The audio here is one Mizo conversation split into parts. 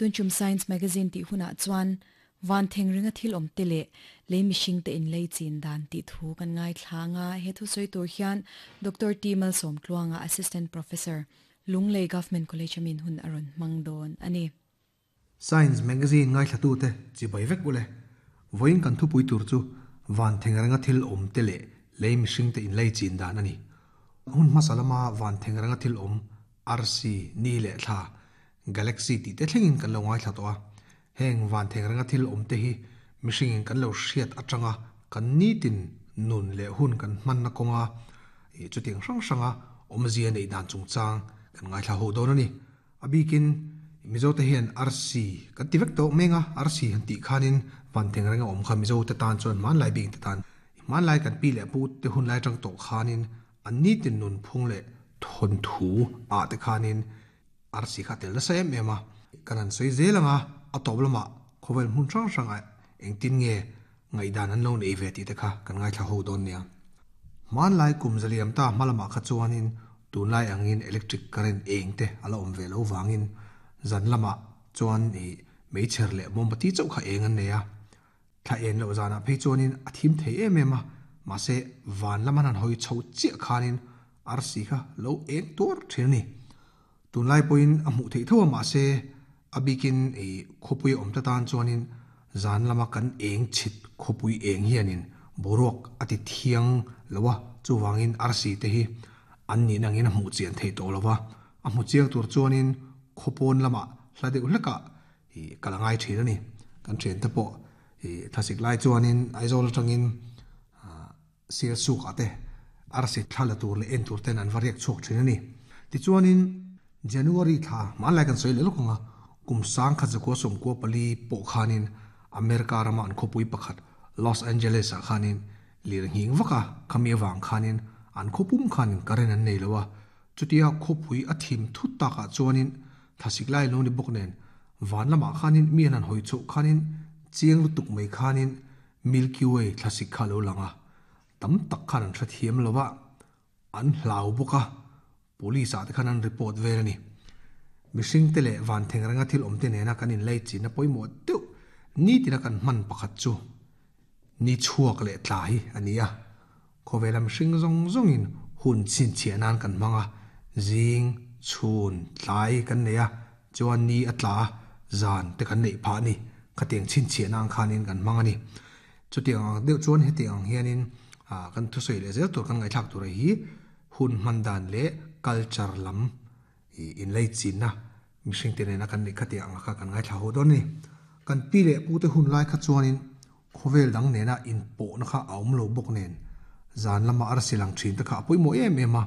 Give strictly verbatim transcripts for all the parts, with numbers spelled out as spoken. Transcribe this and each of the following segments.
Tunchum Science Magazine ti huna chuan van thengringa thil om te le le mihring te in lei chin dan ti thu kan ngai thlanga he thu soi tur hian Doctor T Malsom Tluanga Assistant Professor Lunglei Government College amin hun aron mangdon ani. Science Magazine ngai thlatu te chi bai vek ule voin kan thu pui tur chu van thengrenga thil om te le le mihring te in lei chin dan ani. Hun masalama van thengrenga thil om R C ni le thla galaxy ti te thlengin kan lo ngai thla to a heng van thengrenga thil om te hi mihring in kan lo hriat atanga kan ni tin nun le hun kan man na konga e chuting hrang hranga om zia nei dan chung chang kan ngai thla ho don ani. Abikin mizo te hian R C kan ti vek to menga R C han ti khanin van thengrenga om kha mizo te tan chuan man lai bing te tan man lai kan pi le pu te hun lai tang to khanin an ni tin nun phung le thon thu a te khanin R C kha tel na sa em ema kanan soi zelanga atoblama khovel mun rang ranga engtin nge ngai dan an lo nei ve ti te kha kan ngai thla ho don nia. Man lai kum zaliam ta malama kha chuanin tun lai angin electric current eng te ala om ve lo wangin zan lama chuan i meicher le mombati chau kha eng an neya thla en lo zana phei chuanin a thim thei em ema ma se van lama nan hoi chho chi khanin R C kha lo eng tur thin ni. Tun lai poin a mu thei thawa ma se abikin e khopui om ta tan chuanin zan lama kan eng chit khopui eng hianin boruak ati thiang lowa chuwangin R C te hi an ni nangin a mu chian thei to lowa a mu chiang tur chuanin khopon lama hlade ulaka i kalangai thin ani. Kan then te po i thasik lai chuanin Aizawl tangin sir suk ate R C thala tur le en tur ten an variak chok thin ani. Ti chuanin January tha man lai kan soi le lokonga kum sang kha ko som ko pali po khanin America rama an khopui pakhat Los Angeles a khanin lir hing waka khami wang khanin an khopum khanin karen an nei lowa chutia khopui a thim thu taka chuanin thasik lai lo ni boknen van lama khanin mi an hoi chu khanin chiang lutuk mai khanin Milky Way thasik kha lo langa tam tak khan an thiam lowa an hlau boka police a te khan an report ve ani. Mihring te le van thengrenga thil om te nena kan in lei chin na poimo tu ni tina kan man pakhat chu ni chuak le tla hi ania khowela mihring zong zongin hun chin chianan kan manga jing chun tlai kan neya chuan ni atla zan te kan nei pha ni khateng chin chianan khanin kan manga ni. Chutiang ang deuh chuan hetiang hianin a kan thu soi le zel tur kan ngai thak tur hi hun man dan le culture lam in lei chin na mihring te nena kan ni khatiang kha kan ngai thla ho don ni. Kan pi le pu te hun lai kha chuanin khovel dang nena in po na kha aum lo bok nen zan lama ar silang thin te kha poimo em ema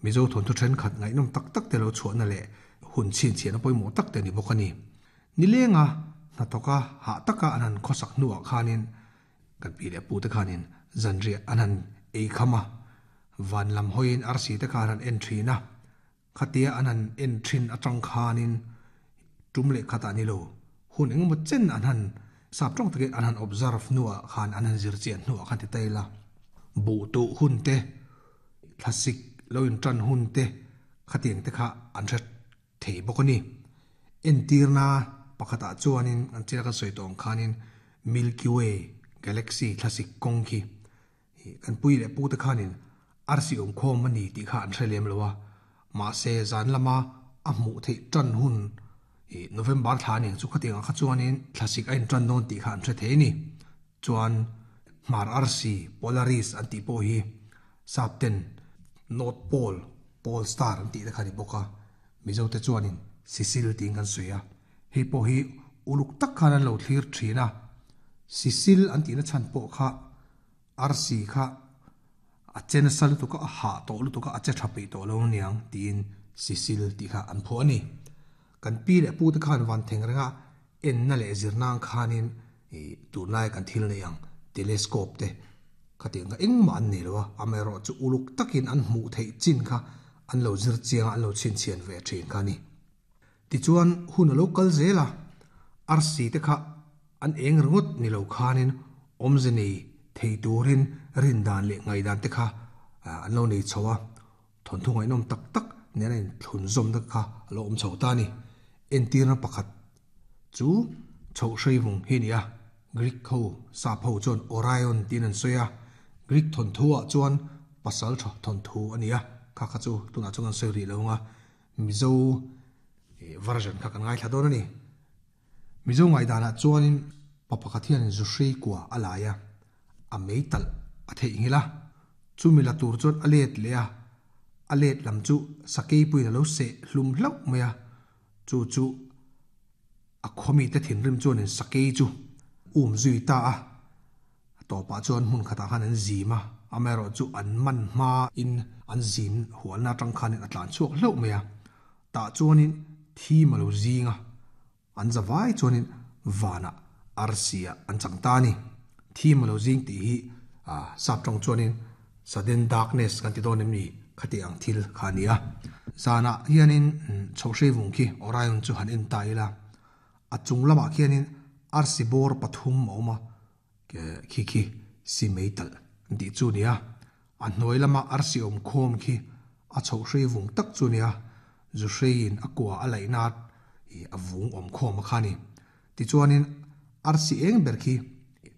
mizo thon thu then khat ngai nom tak tak te lo chuan na le hun chin chian a poimo tak te ni bok ani. Ni lenga na toka ha taka anan khosak nuwa khanin kan pi le pu te khanin zanri anan ei khama van lam hoin ar si te khanan entry na khatia anan entrin atang khanin tumle khata ni lo hun engmo chen anan sap tong take anan observe nuwa khan anan zir chian nuwa khan ti taila bu tu hun te thlasik loin tran hun te khatiang te kha an tha thei bokoni entirna pakhata chuanin an chira ka soi tong khanin Milky Way galaxy thlasik kong khi kan pui le pu te khanin R C om khom mani ti kha an threlem lowa ma se zan lama a mu thei tran hun e November tha ni chu khatiang kha chuanin thlasik ain tran non ti kha an thre thei ni. Chuan mar R C Polaris an ti po hi sapten North Pole Pole Star an ti kha ni boka mizo te chuanin Sicil ting kan suya hei po hi uluk tak khan an lo thlir thina Sicil an ti na chan po kha R C kha a chen sal tu ka ha to lu tu ka a che thapi to lo niang tin Sicil ti kha an pho ani. Kan pi le pu te khan van thengrenga en na le zirnang khanin e tunlai kan thil nei ang telescope te khatiang engma an nei lowa amero chu uluk takin an hmu thei chin kha an lo zir chiang an lo chin chian ve thin kha ni. Ti chuan hun local zela R C te kha an eng ringot ni lo khanin omzeni thei turin rin dan le ngai dan te kha an lo nei chowa thon thungai nom tak tak nena in thlun zom da kha lo om chho ta ni. Entirna pakhat Chu chho hrei vung hi nia Greek ho sap ho chuan Orion tin an sawi a Greek thon thu ah chuan pasal tha thon thu ania kha kha chu tunah chuan an sawi ri lo nga Mizo version kha kan ngai thla dawn ani Mizo ngai danah chuanin pa pakhat hian zu hrei kua a lai a a meital a theih ngila chumi la tur chuan a let leh a a let lam chu sakei puin a lo seh hlum hlauh mai a chu chu a khawmi te thinrim chuanin sakei chu um zui ta a tawpah chuan hmun khatah khan an zim a amaherawh chu an man hma in an zin hualna atang khanin a tlan chhuak hlauh mai a tah chuanin thi ma lo zinga an zawai chuanin vanah arsia an chang ta ni thi ma lo zing tih hi a sap tawng chuanin sudden darkness kan ti dawn em ni khati ang thil kha nia zana hianin chho hrei vung khi Orion chu han en ta ila a chung lamah khianin arsi bawr pathum a awm a khi khi si meital an tih chu nia a hnuai lama arsi awm khawm khi a chho hrei vung tak chu nia zu hreiin a kua a laih na a vung awm khawm a kha ni tichuanin arsi eng ber khi